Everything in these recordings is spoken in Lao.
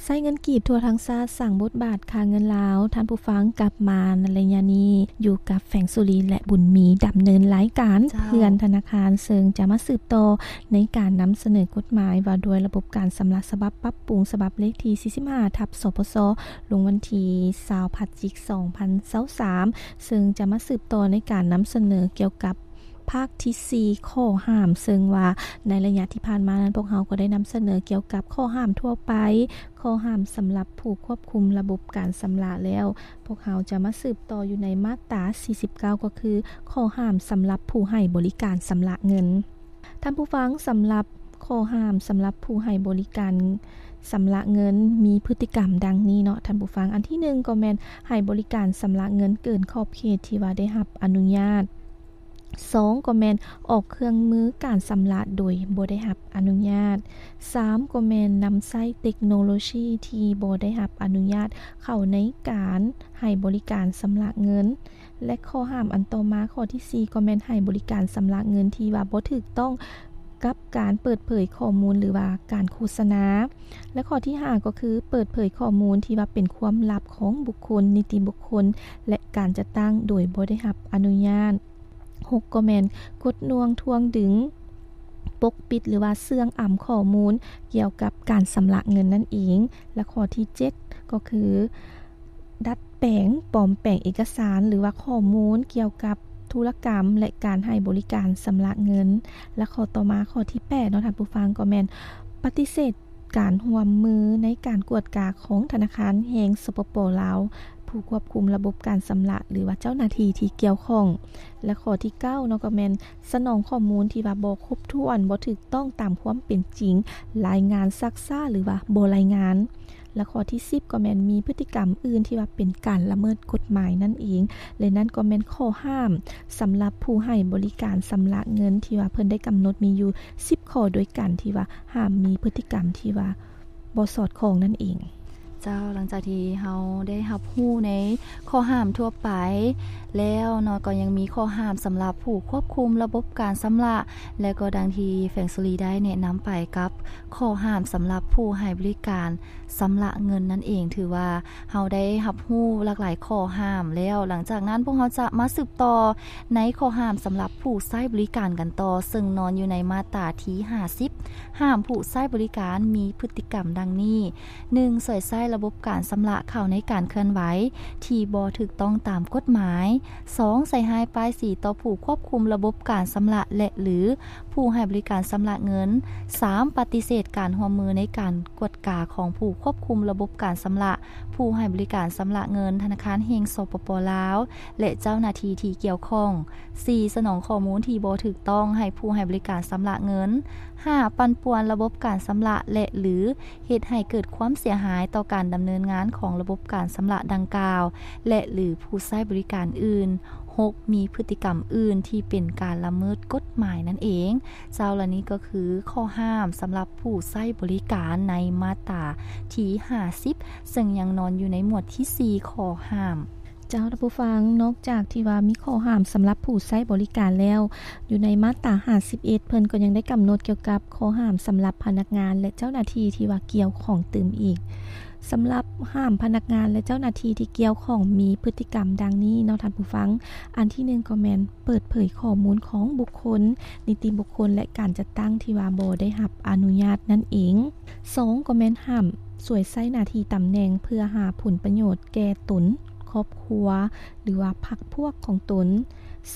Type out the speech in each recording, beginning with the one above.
ໃຊ້ເງິນກີບທົ່ວທັງຊາດ ສ້າງບົດບາດຄ່າເງິນລາວ. ທ່ານຜູ້ຟັງ, ກັບມາໃນໄລຍະນີ້ ຢູ່ກັບແຟງສຸລີ ແລະ ບຸນມີ ດຳເນີນລາຍການ ເຈົ້າ ເພື່ອນທະນາຄານ, ເຊິ່ງຈະມາສືບຕໍ່ໃນການນຳສະເໜີກົດໝາຍວ່າດ້ວຍລະບົບການຊຳລະ ສະບັບປັບປຸງ ສະບັບເລກທີສີ່ສິບຫ້າ ທັບ ສປຊ ລົງວັນທີຊາວ ພະຈິກ ສອງພັນຊາວສາມ ເຊິ່ງຈະມາສືບຕໍ່ໃນການນຳສະເໜີກ່ຽວກັບ ພາກທີສີ່ ຂໍ້ຫ້າມ, ເຊິ່ງວ່າໃນໄລຍະທີ່ຜ່ານມານັ້ນ ພວກເຮົາກໍໄດ້ນຳສະເໜີກ່ຽວກັບຂໍ້ຫ້າມທົ່ວໄປ, ຂໍ້ຫ້າມສຳລັບຜູ້ຄວບຄຸມລະບົບການຊຳລະແລ້ວ, ພວກເຮົາຈະມາສືບຕໍ່ຢູ່ໃນມາດຕາສີ່ສິບເກົ້າ ກໍຄືຂໍ້ຫ້າມສຳລັບຜູ້ໃຫ້ບໍລິການຊຳລະເງິນ. ທ່ານຜູ້ຟັງ, ສຳລັບຂໍ້ຫ້າມສຳລັບຜູ້ໃຫ້ບໍລິການຊຳລະເງິນ ມີພຶດຕິກຳດັ່ງນີ້ເນາະທ່ານຜູ້ຟັງ. ອັນທີໜຶ່ງ ກໍແມ່ນໃຫ້ບໍລິການຊຳລະເງິນເກີນຂອບເຂດທີ່ວ່າໄດ້ຮັບອະນຸຍາດ. ສອງ ກໍແມ່ນອອກເຄື່ອງມືການຊຳລະໂດຍບໍ່ໄດ້ຮັບອະນຸຍາດ. ສາມ ກໍແມ່ນນຳໃຊ້ເຕັກໂນໂລຊີທີ່ບໍ່ໄດ້ຮັບອະນຸຍາດເຂົ້າໃນການໃຫ້ບໍລິການຊຳລະເງິນ. ແລະ ຂໍ້ຫ້າມອັນຕໍ່ມາ ຂໍ້ທີສີ່ ກໍແມ່ນໃຫ້ບໍລິການຊຳລະເງິນທີ່ວ່າບໍ່ຖືກຕ້ອງກັບການເປີດເຜີຍຂໍ້ມູນ ຫຼືວ່າການໂຄສະນາ. ແລະ ຂໍ້ທີຫ້າ ກໍຄືເປີດເຜີຍຂໍ້ມູນທີ່ວ່າເປັນຄວາມລັບຂອງບຸກຄົນ, ນິຕິບຸກຄົນ ແລະ ການຈັດຕັ້ງໂດຍບໍ່ໄດ້ຮັບອະນຸຍາດ. ຫົກ ກໍແມ່ນກົດໜ່ວງ, ທວງດຶງ, ປົກປິດ ຫຼືວ່າເຊື່ອງອຳຂໍ້ມູນກ່ຽວກັບການຊຳລະເງິນນັ້ນເອງ. ແລະ ຂໍ້ທີເຈັດ ກໍຄື ດັດແປງ, ປອມແປງເອກະສານ ຫຼືວ່າຂໍ້ມູນກ່ຽວກັບທຸລະກຳ ແລະ ການໃຫ້ບໍລິການຊຳລະເງິນ. ແລະ ຂໍ້ຕໍ່ມາ ຂໍ້ທີແປດເນາະທ່ານຜູ້ຟັງ, ກໍແມ່ນປະຕິເສດການຮ່ວມມືໃນການກວດກາຂອງທະນາຄານແຫ່ງ ສປປ ລາວ, ຜູ້ຄວບຄຸມລະບົບການຊຳລະ ຫຼືວ່າເຈົ້າໜ້າທີ່ທີ່ກ່ຽວຂ້ອງ. ແລະ ຂໍ້ທີເກົ້າເນາະ ກໍແມ່ນສະໜອງຂໍ້ມູນທີ່ວ່າບໍ່ຄົບຖ້ວນ, ບໍ່ຖືກຕ້ອງຕາມຄວາມເປັນຈິງ, ລາຍງານຊັກຊ້າ ຫຼືວ່າບໍ່ລາຍງານ. ແລະ ຂໍ້ທີສິບ ກໍແມ່ນມີພຶດຕິກຳອື່ນທີ່ວ່າເປັນການລະເມີດກົດໝາຍນັ້ນເອງ. ແລະ ນັ້ນກໍແມ່ນຂໍ້ຫ້າມສຳລັບຜູ້ໃຫ້ບໍລິການຊຳລະເງິນທີ່ວ່າເພິ່ນໄດ້ກຳນົດມີຢູ່ສິບຂໍ້ດ້ວຍກັນ ທີ່ວ່າຫ້າມມີພຶດຕິກຳທີ່ວ່າບໍ່ສອດຄ່ອງນັ້ນເອງ. ເຈົ້າ, ຫຼັງຈາກທີ່ເຮົາໄດ້ຮັບຮູ້ໃນຂໍ້ຫ້າມທົ່ວໄປແລ້ວເນາະ, ກໍຍັງມີຂໍ້ຫ້າມສຳລັບຜູ້ຄວບຄຸມລະບົບການຊຳລະ ແລະ ກໍດັ່ງທີ່ແຟງສຸລີໄດ້ແນະນຳໄປກັບຂໍ້ຫ້າມສຳລັບຜູ້ໃຫ້ບໍລິການ ຊຳລະເງິນນັ້ນເອງ. ຖືວ່າເຮົາໄດ້ຮັບຮູ້ຫຼາກຫຼາຍຂໍ້ຫ້າມແລ້ວ. ຫຼັງຈາກນັ້ນ ພວກເຮົາຈະມາສືບຕໍ່ໃນຂໍ້ຫ້າມສຳລັບຜູ້ໃຊ້ບໍລິການກັນຕໍ່, ເຊິ່ງນອນຢູ່ໃນມາດຕາທີຫ້າສິບ. ຫ້າມຜູ້ໃຊ້ບໍລິການມີພຶດຕິກຳດັ່ງນີ້: ໜຶ່ງ ຊ່ວຍໃຊ້ລະບົບການຊຳລະເຂົ້າໃນການເຄື່ອນໄຫວທີ່ບໍ່ຖືກຕ້ອງຕາມກົດໝາຍ. ສອງ ໃສ່ຮ້າຍປ້າຍສີຕໍ່ຜູ້ຄວບຄຸມລະບົບການຊຳລະ ແລະ ຫຼື ຜູ້ໃຫ້ບໍລິການຊຳລະເງິນ. ສາມ ປະຕິເສດການຮ່ວມມືໃນການກວດກາຂອງຜູ້ຄວບຄຸມລະບົບການຊຳລະ, ຜູ້ໃຫ້ບໍລິການຊຳລະເງິນ, ທະນາຄານແຫ່ງ ສປປ ລາວ ແລະ ເຈົ້າໜ້າທີ່ທີ່ກ່ຽວຂ້ອງ. ສີ່ ສະໜອງຂໍ້ມູນທີ່ບໍ່ຖືກຕ້ອງໃຫ້ຜູ້ໃຫ້ບໍລິການຊຳລະເງິນ. ຫ້າ ປັ່ນປ່ວນລະບົບການຊຳລະ ແລະ ຫຼື ເຮັດໃຫ້ເກີດຄວາມເສຍຫາຍຕໍ່ການດຳເນີນງານຂອງລະບົບການຊຳລະດັ່ງກ່າວ ແລະ ຫຼື ຜູ້ໃຊ້ບໍລິການອື່ນ. ຫົກ ມີພຶດຕິກຳອື່ນທີ່ເປັນການລະເມີດກົດໝາຍນັ້ນເອງ. ເຈົ້າ, ແລະ ນີ້ກໍຄືຂໍ້ຫ້າມສຳລັບຜູ້ໃຊ້ບໍລິການໃນມາດຕາທີຫ້າສິບ, ເຊິ່ງຍັງນອນຢູ່ໃນໝວດທີສີ່ ຂໍ້ຫ້າມ. ເຈົ້າ, ທ່ານຜູ້ຟັງ, ນອກຈາກທີ່ວ່າມີຂໍ້ຫ້າມສຳລັບຜູ້ໃຊ້ບໍລິການແລ້ວ, ຢູ່ໃນມາດຕາຫ້າສິບເອັດ ເພິ່ນກໍຍັງໄດ້ກຳນົດກ່ຽວກັບຂໍ້ຫ້າມສຳລັບພະນັກງານ ແລະ ເຈົ້າໜ້າທີ່ທີ່ວ່າກ່ຽວຂ້ອງຕື່ມອີກ. ສຳລັບຫ້າມພະນັກງານ ແລະ ເຈົ້າໜ້າທີ່ທີ່ກ່ຽວຂ້ອງມີພຶດຕິກຳດັ່ງນີ້ເນາະທ່ານຜູ້ຟັງ. ອັນທີໜຶ່ງກໍແມ່ນເປີດເຜີຍຂໍ້ມູນຂອງບຸກຄົນ, ນິຕິບຸກຄົນ ແລະ ການຈັດຕັ້ງທີ່ວ່າບໍ່ໄດ້ຮັບອະນຸຍາດນັ້ນເອງ. ສອງ ກໍແມ່ນຫ້າມສວຍໃຊ້ໜ້າທີ່ຕຳແໜ່ງເພື່ອຫາຜົນປະໂຫຍດແກ່ຕົນ, ຄອບຄົວ ຫຼືວ່າພັກພວກຂອງຕົນ.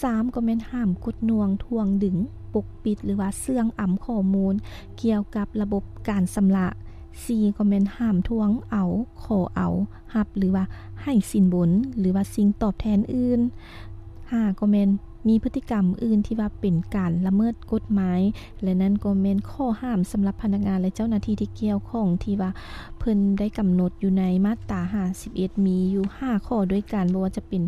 ສາມ ກໍແມ່ນຫ້າມກົດໜ່ວງ, ທວງດຶງ, ປົກປິດ ຫຼືວ່າເຊື່ອງອຳຂໍ້ມູນກ່ຽວກັບລະບົບການຊຳລະ. ສີ່ ກໍແມ່ນຫ້າມທວງເອົາ, ຂໍເອົາ, ຮັບ ຫຼືວ່າໃຫ້ສິນບົນ ຫຼືວ່າສິ່ງຕອບແທນອື່ນ. ຫ້າ ກໍແມ່ນມີພຶດຕິກຳອື່ນທີ່ວ່າເປັນການລະເມີດກົດໝາຍ ແລະ ນັ້ນກໍແມ່ນຂໍ້ຫ້າມສຳລັບພະນັກງານ ແລະ ເຈົ້າໜ້າທີ່ທີ່ກ່ຽວຂ້ອງ ທີ່ວ່າເພິ່ນໄດ້ກຳນົດຢູ່ໃນມາດຕາຫ້າສິບເອັດ ມີຢູ່ຫ້າຂໍ້ດ້ວຍກັນ, ບໍ່ວ່າຈະເປັນ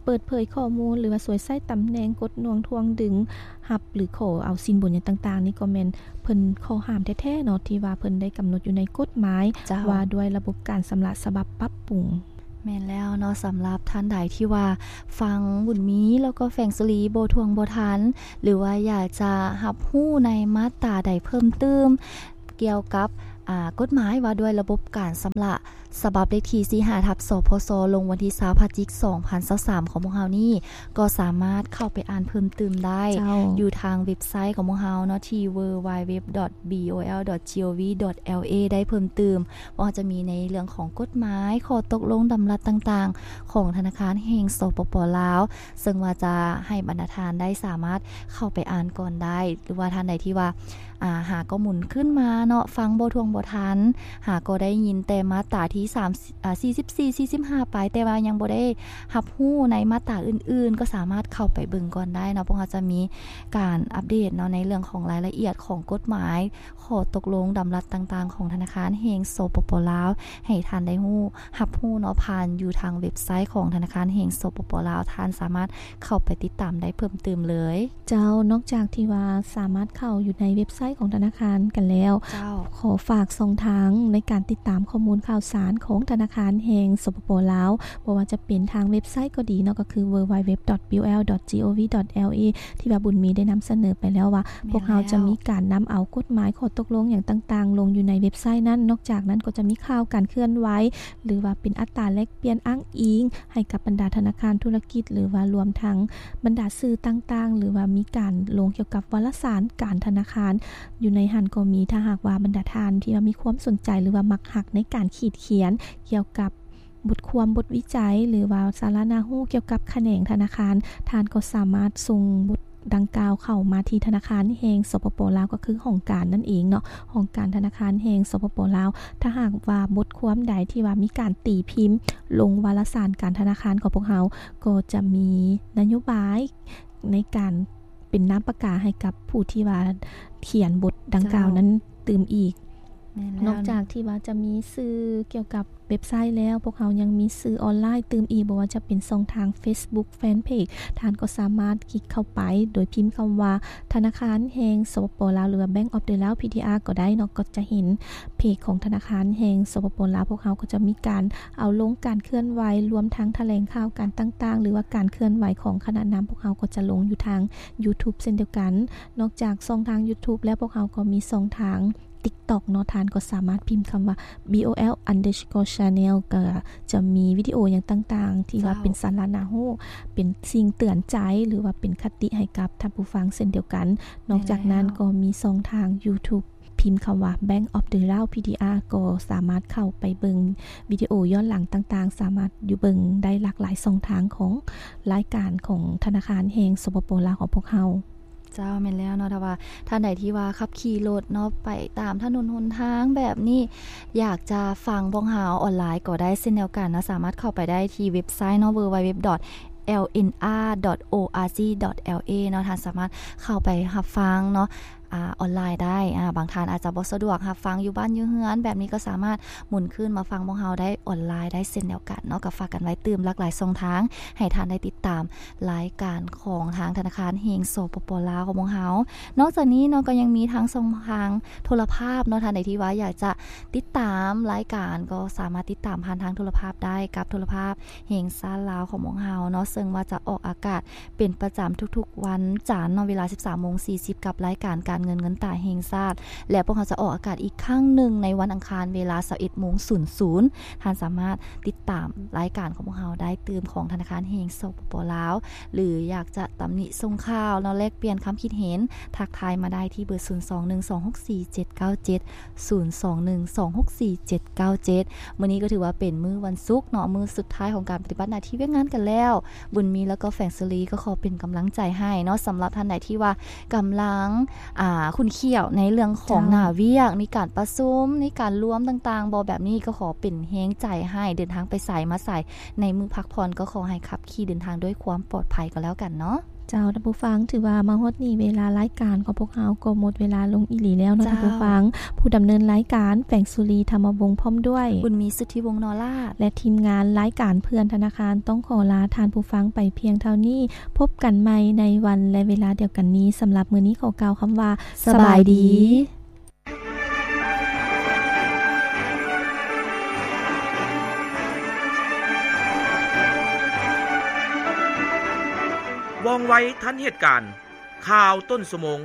ເປີດເຜີຍຂໍ້ມູນ ຫຼືວ່າສວຍໃຊ້ຕຳແໜ່ງ, ກົດໜ່ວງ, ທວງດຶງ, ຮັບ ຫຼື ຂໍເອົາສິນບົນຫຍັງຕ່າງໆ ນີ້ກໍແມ່ນເພິ່ນຂໍ້ຫ້າມແທ້ໆເນາະ ທີ່ວ່າເພິ່ນໄດ້ກຳນົດຢູ່ໃນກົດໝາຍ ເຈົ້າ ວ່າດ້ວຍລະບົບການຊຳລະສະບັບປັບປຸງ. ແມ່ນແລ້ວເນາະ, ສຳລັບທ່ານໃດທີ່ວ່າຟັງບຸນມີ ແລ້ວກໍແຟງສຸລີບໍ່ຖ້ວງບໍ່ທັນ ຫຼືວ່າຢາກຈະຮັບຮູ້ໃນມາດຕາໃດເພີ່ມຕື່ມ ກ່ຽວກັບ ອາ ກົດໝາຍວ່າດ້ວຍລະບົບການຊຳລະ ສະບັບເລກທີສີ່ຫ້າ ທັບ ສພສ ລົງວັນທີຊາວ ພະຈິກ ສອງພັນຊາວສາມ ຂອງພວກເຮົານີ້ ກໍສາມາດເຂົ້າໄປອ່ານເພີ່ມຕື່ມໄດ້ ເຈົ້າ ຢູ່ທາງເວັບໄຊຂອງພວກເຮົາເນາະ ທີ່ www.bol.gov.la ໄດ້ເພີ່ມຕື່ມ ບໍ່ວ່າຈະມີໃນເລື່ອງຂອງກົດໝາຍ ຂໍ້ຕົກລົງດຳລັດຕ່າງໆ ຂອງທະນາຄານແຫ່ງ ສປປ ລາວ ເຊິ່ງວ່າຈະໃຫ້ບັນດາທ່ານໄດ້ສາມາດເຂົ້າໄປອ່ານກ່ອນໄດ້ ຫຼືວ່າທ່ານໃດທີ່ວ່າ ອາ ຫາກໍໝູນຂຶ້ນມາເນາະ ຟັງບໍ່ຖ້ວງບໍ່ທັນ ຫາກໍໄດ້ຍິນແຕ່ມາດຕາທີສາມ ອາ ສີ່ສິບສີ່ ສີ່ສິບຫ້າ ໄປ ແຕ່ວ່າຍັງບໍ່ໄດ້ຮັບຮູ້ໃນມາດຕາອື່ນໆ ກໍສາມາດເຂົ້າໄປເບິ່ງກ່ອນໄດ້ເນາະ. ພວກເຮົາຈະມີການອັບເດດເນາະ ໃນເລື່ອງຂອງລາຍລະອຽດຂອງກົດໝາຍ ຂໍ້ຕົກລົງດຳລັດຕ່າງໆ ຂອງທະນາຄານແຫ່ງ ສປປ ລາວ ໃຫ້ທ່ານໄດ້ຮູ້ ຮັບຮູ້ເນາະ ຜ່ານຢູ່ທາງເວັບໄຊຂອງທະນາຄານແຫ່ງ ສປປ ລາວ ທ່ານສາມາດເຂົ້າໄປຕິດຕາມໄດ້ເພີ່ມຕື່ມເລີຍ. ເຈົ້າ ນອກຈາກທີ່ວ່າສາມາດເຂົ້າຢູ່ໃນເວັບໄຊຂອງທະນາຄານກັນແລ້ວ ເຈົ້າ ຂໍຝາກຊ່ອງທາງໃນການຕິດຕາມຂໍ້ມູນຂ່າວສານຂອງທະນາຄານແຫ່ງ ສປປ ລາວ ບໍ່ວ່າຈະເປັນທາງເວັບໄຊກໍດີເນາະ ກໍຄື www.bol.gov.la ທີ່ວ່າບຸນມີໄດ້ນຳສະເໜີໄປແລ້ວວ່າ ແມ່ນແລ້ວ ພວກເຮົາຈະມີການນຳເອົາກົດໝາຍ ຂໍ້ຕົກລົງຫຍັງຕ່າງໆ ລົງຢູ່ໃນເວັບໄຊນັ້ນ. ນອກຈາກນັ້ນກໍຈະມີຂ່າວການເຄື່ອນໄຫວ ຫຼືວ່າເປັນອັດຕາແລກປ່ຽນອ້າງອີງໃຫ້ກັບບັນດາທະນາຄານທຸລະກິດ ຫຼືວ່າລວມທັງບັນດາສື່ຕ່າງໆ ຫຼືວ່າມີການລົງກ່ຽວກັບວາລະສານການທະນາຄານ ຢູ່ໃນຫັ້ນກໍມີ. ຖ້າຫາກວ່າບັນດາທ່ານທີ່ວ່າມີຄວາມສົນໃຈ ຫຼືວ່າມັກຮັກໃນການຂີດຂຽນກ່ຽວກັບບົດຄວາມ ບົດວິໄຈ ຫຼືວ່າສາລະໜ້າຮູ້ກ່ຽວກັບຂະແໜງທະນາຄານ, ທ່ານກໍສາມາດສົ່ງບົດດັ່ງກ່າວເຂົ້າມາທີ່ທະນາຄານແຫ່ງ ສປປ ລາວ ກໍຄືຫ້ອງການນັ້ນເອງເນາະ, ຫ້ອງການທະນາຄານແຫ່ງ ສປປ ລາວ. ຖ້າຫາກວ່າບົດຄວາມໃດທີ່ວ່າມີການຕີພິມລົງວາລະສານການທະນາຄານຂອງພວກເຮົາ ກໍຈະມີນະໂຍບາຍໃນການເປັນນາມປາກກາໃຫ້ກັບຜູ້ທີ່ວ່າຂຽນບົດດັ່ງກ່າວນັ້ນຕື່ມອີກ. ແມ່ນແລ້ວ. ນອກຈາກທີ່ວ່າຈະມີສື່ກ່ຽວກັບເວັບໄຊແລ້ວ, ພວກເຮົາຍັງມີສື່ອອນລາຍຕື່ມອີກ, ບໍ່ວ່າຈະເປັນຊ່ອງທາງ Facebook Fanpage, ທ່ານກໍສາມາດຄລິກເຂົ້າໄປໂດຍພິມຄຳວ່າ ທະນາຄານແຫ່ງ ສປປ ລາວ ຫຼືວ່າ Bank of the Lao PDR ກໍໄດ້ເນາະ, ກໍຈະເຫັນເພຈຂອງທະນາຄານແຫ່ງ ສປປ ລາວ. ພວກເຮົາກໍຈະມີການເອົາລົງການເຄື່ອນໄຫວ ລວມທັງຖະແຫຼງຂ່າວການຕ່າງໆ ຫຼືວ່າການເຄື່ອນໄຫວຂອງຄະນະນຳ, ພວກເຮົາກໍຈະລົງຢູ່ທາງ YouTube ເຊັ່ນດຽວກັນ. ນອກຈາກຊ່ອງທາງ YouTube ແລ້ວ, ພວກເຮົາກໍມີຊ່ອງທາງ TikTok ເນາະ, ທ່ານກໍສາມາດພິມຄຳວ່າ bol underscore channel ກໍຈະມີວິດີໂອຫຍັງຕ່າງໆ ທີ່ວ່າເປັນສາລະໜ້າຮູ້, ເປັນສິ່ງເຕືອນໃຈ ຫຼືວ່າເປັນຄະຕິໃຫ້ກັບທ່ານຜູ້ຟັງເຊັ່ນດຽວກັນ. ນອກຈາກນັ້ນກໍມີຊ່ອງທາງ YouTube ພິມຄຳວ່າ Bank of the Lao PDR ກໍສາມາດເຂົ້າໄປເບິ່ງວິດີໂອຍ້ອນຫຼັງຕ່າງໆ, ສາມາດຢູ່ເບິ່ງໄດ້ຫຼາກຫຼາຍຊ່ອງທາງຂອງລາຍການຂອງທະນາຄານແຫ່ງ ສປປ ລາວ ຂອງພວກເຮົາ. ເຈົ້າ, ແມ່ນແລ້ວເນາະ, ຖ້າວ່າທ່ານໃດທີ່ວ່າຂັບຂີ່ລົດເນາະ ໄປຕາມຖະໜົນຫົນທາງແບບນີ້ ຢາກຈະຟັງພວກເຮົາອອນລາຍກໍໄດ້ເຊັ່ນດຽວກັນເນາະ, ສາມາດເຂົ້າໄປໄດ້ທີ່ເວັບໄຊເນາະ www.lnr.org.la ເນາະ, ທ່ານສາມາດເຂົ້າໄປຮັບຟັງເນາະ ອາ ອອນລາຍໄດ້. ອາ ບາງທ່ານອາດຈະບໍ່ສະດວກຮັບຟັງຢູ່ບ້ານຢູ່ເຮືອນ ແບບນີ້ກໍສາມາດໝູນຄືນມາຟັງພວກເຮົາໄດ້ອອນລາຍໄດ້ເຊັ່ນດຽວກັນເນາະ. ກໍຝາກກັນໄວ້ຕື່ມຫຼາກຫຼາຍຊ່ອງທາງ ໃຫ້ທ່ານໄດ້ຕິດຕາມລາຍການຂອງທາງທະນາຄານແຫ່ງ ສປປ ລາວ ຂອງພວກເຮົາ. ນອກຈາກນີ້ເນາະ ກໍຍັງມີທາງຊ່ອງທາງໂທລະພາບເນາະ, ທ່ານໃດທີ່ວ່າຢາກຈະຕິດຕາມລາຍການ ກໍສາມາດຕິດຕາມຜ່ານທາງໂທລະພາບໄດ້ ກັບໂທລະພາບແຫ່ງຊາດລາວຂອງພວກເຮົາເນາະ, ເຊິ່ງວ່າຈະອອກອາກາດ ເປັນປະຈຳທຸກໆວັນຈັນເນາະ ເວລາສິບສາມໂມງສີ່ສິບ ກັບລາຍການການເງິນເງິນຕາແຫ່ງຊາດ ແລະ ພວກເຮົາຈະອອກອາກາດອີກຄັ້ງໜຶ່ງໃນວັນອັງຄານເວລາຊາວເອັດໂມງສູນສູນ. ທ່ານສາມາດຕິດຕາມລາຍການຂອງພວກເຮົາໄດ້ຕື່ມຂອງທະນາຄານແຫ່ງ ສປປ ລາວ ຫຼື ຢາກຈະຕຳໜິສົ່ງຂ່າວເນາະ ແລກປ່ຽນຄຳຄິດເຫັນ ທັກທາຍມາໄດ້ທີ່ເບີ ສູນສອງໜຶ່ງສອງຫົກສີ່ເຈັດເກົ້າເຈັດ ສູນສອງໜຶ່ງສອງຫົກສີ່ເຈັດເກົ້າເຈັດ. ມື້ນີ້ກໍຖືວ່າເປັນມື້ວັນສຸກເນາະ, ມື້ສຸດທ້າຍຂອງການປະຕິບັດໜ້າທີ່ວຽກງານກັນແລ້ວ. ບຸນມີ ແລ້ວກໍແຟງສຸລີ ກໍຂໍເປັນກຳລັງໃຈໃຫ້ເນາະ, ສຳລັບທ່ານໃດທີ່ວ່າກຳລັງ ອ່າ ຂຸ້ນຂ້ຽວໃນເລື່ອງຂອງ ເຈົ້າ ໜ້າວຽກ, ມີການປະຊຸມ, ມີການລວມຕ່າງໆບໍ ແບບນີ້ ກໍຂໍເປັນແຮງໃຈໃຫ້, ເດີນທາງໄປໃສມາໃສໃນມື້ພັກຜ່ອນ ກໍຂໍໃຫ້ຂັບຂີ່ເດີນທາງດ້ວຍຄວາມປອດໄພກໍແລ້ວກັນເນາະ. ເຈົ້າ ທ່ານຜູ້ຟັງ, ຖືວ່າມາຮອດນີ້ເວລາລາຍການຂອງພວກເຮົາກໍໝົດເວລາລົງອີ່ຫຼີແລ້ວເນາະ ເຈົ້າ ທ່ານຜູ້ຟັງ. ຜູ້ດຳເນີນລາຍການ ແຟງສຸລີ ທຳມະວົງ ພ້ອມດ້ວຍ ບຸນມີ ສຸດທິວົງ ນໍລາດ ແລະ ທີມງານລາຍການເພື່ອນທະນາຄານ ຕ້ອງຂໍລາທ່ານຜູ້ຟັງໄປພຽງເທົ່ານີ້. ພົບກັນໃໝ່ໃນວັນ ແລະ ເວລາດຽວກັນນີ້. ສຳລັບມື້ນີ້ຂໍກ່າວຄຳວ່າ ສະບາຍດີ. ສະບາຍດີ. ວ່ອງໄວທັນເຫດການ, ຂ່າວຕົ້ນຊົ່ວໂມງ.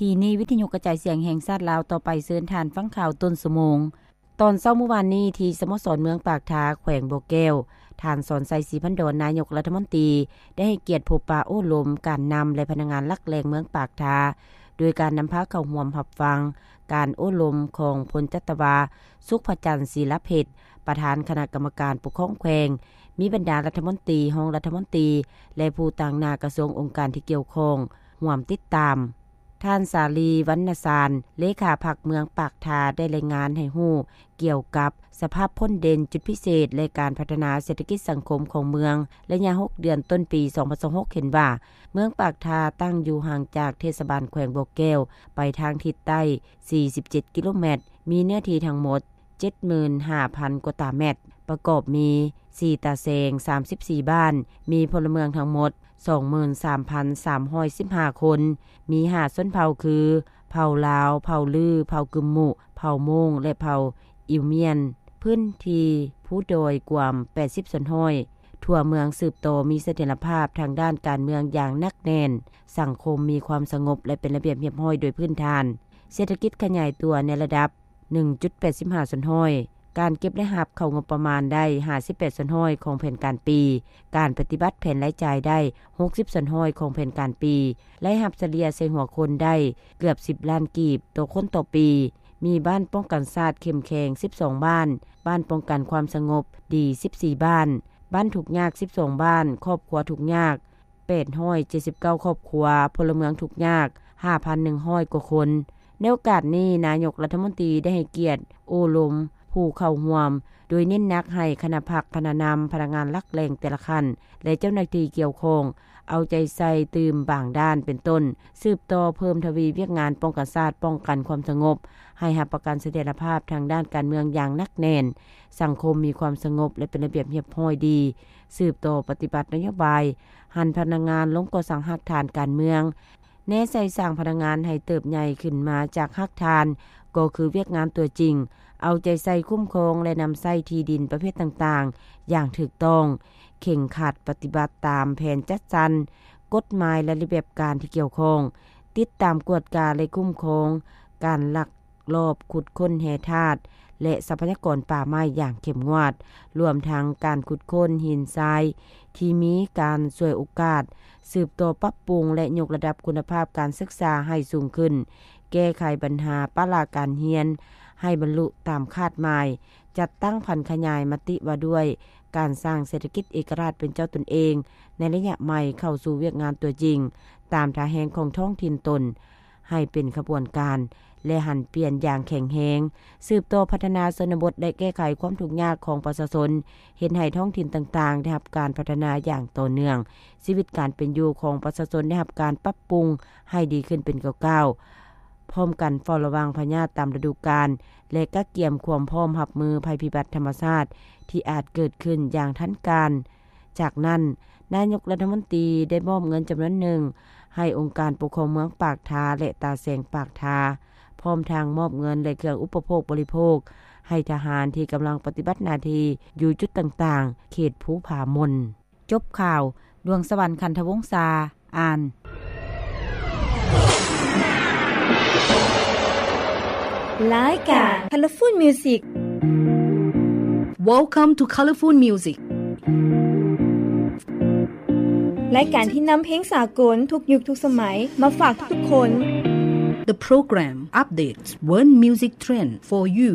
ທີ່ນີ້ ວິທະຍຸກະຈາຍສຽງແຫ່ງຊາດລາວ ຕໍ່ໄປເຊີນທ່ານຟັງຂ່າວຕົ້ນຊົ່ວໂມງ. ຕອນເຊົ້າມື້ວານນີ້ ທີ່ສະໂມສອນເມືອງປາກທາ ແຂວງບໍ່ແກ້ວ, ທ່ານ ສອນໄຊ ສີພັນດອນ ນາຍົກລັດຖະມົນຕີ ໄດ້ໃຫ້ກຽດພົບປະໂອ້ລົມການນຳ ແລະ ພະນັກງານຫຼັກແຫຼ່ງເມືອງປາກທາ ໂດຍການນຳພາເຂົ້າຮ່ວມຮັບຟັງການໂອ້ລົມຂອງພົນຈັດຕະວາ ສຸກພະຈັນ ສີລະເພັດ ປະທານຄະນະກຳມະການປົກຄອງແຂວງ, ມີບັນດາລັດຖະມົນຕີ, ຮອງລັດຖະມົນຕີ ແລະ ຜູ້ຕາງໜ້າກະຊວງອົງການທີ່ກ່ຽວຂ້ອງຮ່ວມຕິດຕາມ. ທ່ານ ສາລີ ວັນນະຊານ ເລຂາພັກເມືອງປາກທາ ໄດ້ລາຍງານໃຫ້ຮູ້ກ່ຽວກັບສະພາບພົ້ນເດັ່ນ, ຈຸດພິເສດ ແລະ ການພັດທະນາເສດຖະກິດສັງຄົມຂອງເມືອງ ໄລຍະຫົກເດືອນຕົ້ນປີສອງພັນຊາວຫົກ ເຫັນວ່າ ເມືອງປາກທາຕັ້ງຢູ່ຫ່າງຈາກເທດສະບານແຂວງບໍ່ແກ້ວໄປທາງທິດໃຕ້ສີ່ສິບເຈັດກິໂລແມັດ, ມີເນື້ອທີ່ທັງໝົດ ເຈັດໝື່ນຫ້າພັນກວ່າຕາແມັດ, ປະກອບມີສີ່ຕາແສງ ສາມສິບສີ່ບ້ານ, ມີພົນລະເມືອງທັງໝົດສອງໝື່ນສາມພັນສາມຮ້ອຍສິບຫ້າຄົນ, ມີຫ້າຊົນເຜົ່າຄື ເຜົ່າລາວ, ເຜົ່າລື, ເຜົ່າກຶມມຸ, ເຜົ່າໂມງ ແລະ ເຜົ່າອິວມຽນ, ພື້ນທີ່ພູດອຍກວ້າງແປດສິບສ່ວນຮ້ອຍ. ທົ່ວເມືອງສືບຕໍ່ມີສະຖຽນລະພາບທາງດ້ານການເມືອງຢ່າງໜັກແໜ້ນ, ສັງຄົມມີຄວາມສະຫງົບ ແລະ ເປັນລະບຽບຮຽບຮ້ອຍໂດຍພື້ນຖານ, ເສດຖະກິດຂະຫຍາຍຕົວໃນລະດັບ ໜຶ່ງຈຸດແປດສິບຫ້າສ່ວນຮ້ອຍ, ການເກັບລາຍຮັບເຂົ້າງົບປະມານໄດ້ຫ້າສິບແປດສ່ວນຮ້ອຍຂອງແຜນການປີ, ການປະຕິບັດແຜນລາຍຈ່າຍໄດ້ຫົກສິບສ່ວນຮ້ອຍຂອງແຜນການປີ, ລາຍຮັບສະເລ່ຍໃສ່ຫົວຄົນໄດ້ເກືອບສິບລ້ານກີບຕໍ່ຄົນຕໍ່ປີ, ມີບ້ານປ້ອງກັນຊາດເຂັ້ມແຂງສິບສອງບ້ານ, ບ້ານປ້ອງກັນຄວາມສະຫງົບດີສິບສີ່ບ້ານ, ບ້ານທຸກຍາກສິບສອງບ້ານ, ຄອບຄົວທຸກຍາກ ແປດຮ້ອຍເຈັດສິບເກົ້າຄອບຄົວ, ພົນລະເມືອງທຸກຍາກຫ້າພັນໜຶ່ງຮ້ອຍກວ່າຄົນ. ໃນໂອກາດນີ້, ນາຍົກລັດຖະມົນຕີໄດ້ໃຫ້ກຽດໂອ້ລົມຜູ້ເຂົ້າຮ່ວມ, ໂດຍເນັ້ນໜັກໃຫ້ຄະນະພັກ, ຄະນະນຳ, ພະນັກງານຫຼັກແຫຼ່ງແຕ່ລະຂັ້ນ ແລະ ເຈົ້າໜ້າທີ່ກ່ຽວຂ້ອງ ເອົາໃຈໃສ່ຕື່ມບາງດ້ານ ເປັນຕົ້ນ ສືບຕໍ່ເພີ່ມທະວີວຽກງານປ້ອງກັນຊາດ, ປ້ອງກັນຄວາມສະຫງົບ, ໃຫ້ຮັບປະກັນສະຖຽນລະພາບທາງດ້ານການເມືອງຢ່າງໜັກແໜ້ນ, ສັງຄົມມີຄວາມສະຫງົບ ແລະ ເປັນລະບຽບຮຽບຮ້ອຍດີ, ສືບຕໍ່ປະຕິບັດນະໂຍບາຍ ຫັນພະນັກງານລົງກໍ່ສ້າງຮາກຖານການເມືອງ, ແນໃສ່ສ້າງພະນັກງານໃຫ້ເຕີບໃຫຍ່ຂຶ້ນມາຈາກຮາກຖານ, ກໍຄືວຽກງານຕົວຈິງ, ເອົາໃຈໃສ່ຄຸ້ມຄອງ ແລະ ນຳໃຊ້ທີ່ດິນປະເພດຕ່າງໆຢ່າງຖືກຕ້ອງ, ເຄັ່ງຄັດປະຕິບັດຕາມແຜນຈັດສັນ, ກົດໝາຍ ແລະ ລະບຽບການທີ່ກ່ຽວຂ້ອງ, ຕິດຕາມກວດກາ ແລະ ຄຸ້ມຄອງການລັກ ລອບຂຸດຄົ້ນແຮ່ທາດ ແລະ ຊັບພະຍາກອນປ່າໄມ້ຢ່າງເຂັ້ມງວດ, ລວມທັງການຂຸດຄົ້ນຫີນຊາຍທີ່ມີການສວຍໂອກາດ, ສືບຕໍ່ປັບປຸງ ແລະ ຍົກລະດັບຄຸນນະພາບການສຶກສາໃຫ້ສູງຂຶ້ນ, ແກ້ໄຂບັນຫາປະລະການຮຽນໃຫ້ບັນລຸຕາມຄາດໝາຍ, ຈັດຕັ້ງຜັນຂະຫຍາຍມະຕິວ່າດ້ວຍການສ້າງເສດຖະກິດເອກະລາດເປັນເຈົ້າຕົນເອງໃນໄລຍະໃໝ່ເຂົ້າສູ່ວຽກງານຕົວຈິງ ຕາມທ່າແຮງຂອງທ້ອງຖິ່ນຕົນ ໃຫ້ເປັນຂະບວນການ ແລະ ຫັນປ່ຽນຢ່າງແຂງແຮງ, ສືບຕໍ່ພັດທະນາຊົນນະບົດ ແລະ ແກ້ໄຂຄວາມທຸກຍາກຂອງປະຊາຊົນ, ເຮັດໃຫ້ທ້ອງຖິ່ນຕ່າງໆໄດ້ຮັບການພັດທະນາຢ່າງຕໍ່ເນື່ອງ, ຊີວິດການເປັນຢູ່ຂອງປະຊາຊົນໄດ້ຮັບການປັບປຸງໃຫ້ດີຂຶ້ນເປັນກ້າວໆ, ພ້ອມກັນເຝົ້າລະວັງພະຍາດຕາມລະດູການ ແລະ ກະກຽມຄວາມພ້ອມຮັບມືໄພພິບັດທຳມະຊາດທີ່ອາດເກີດຂຶ້ນຢ່າງທັນການ. ຈາກນັ້ນ, ນາຍົກລັດຖະມົນຕີໄດ້ມອບເງິນຈຳນວນໜຶ່ງໃຫ້ອົງການປົກຄອງເມືອງປາກທາ ແລະ ຕາແສງປາກທາ, ພ້ອມທັງມອບເງິນ ແລະ ເຄື່ອງອຸປະໂພກບໍລິໂພກໃຫ້ທະຫານທີ່ກຳລັງປະຕິບັດໜ້າທີ່ຢູ່ຈຸດຕ່າງໆ ເຂດພູຜາມົນ. ຈົບຂ່າວ, ດວງສະຫວັນ ຂັນທະວົງສາ ອ່ານ. ລາຍການ Colorful Music. Welcome to Colorful Music. ລາຍການທີ່ນຳເພງສາກົນທຸກຍຸກທຸກສະໄໝມາຝາກທຸກໆຄົນ. The program updates world music trend for you.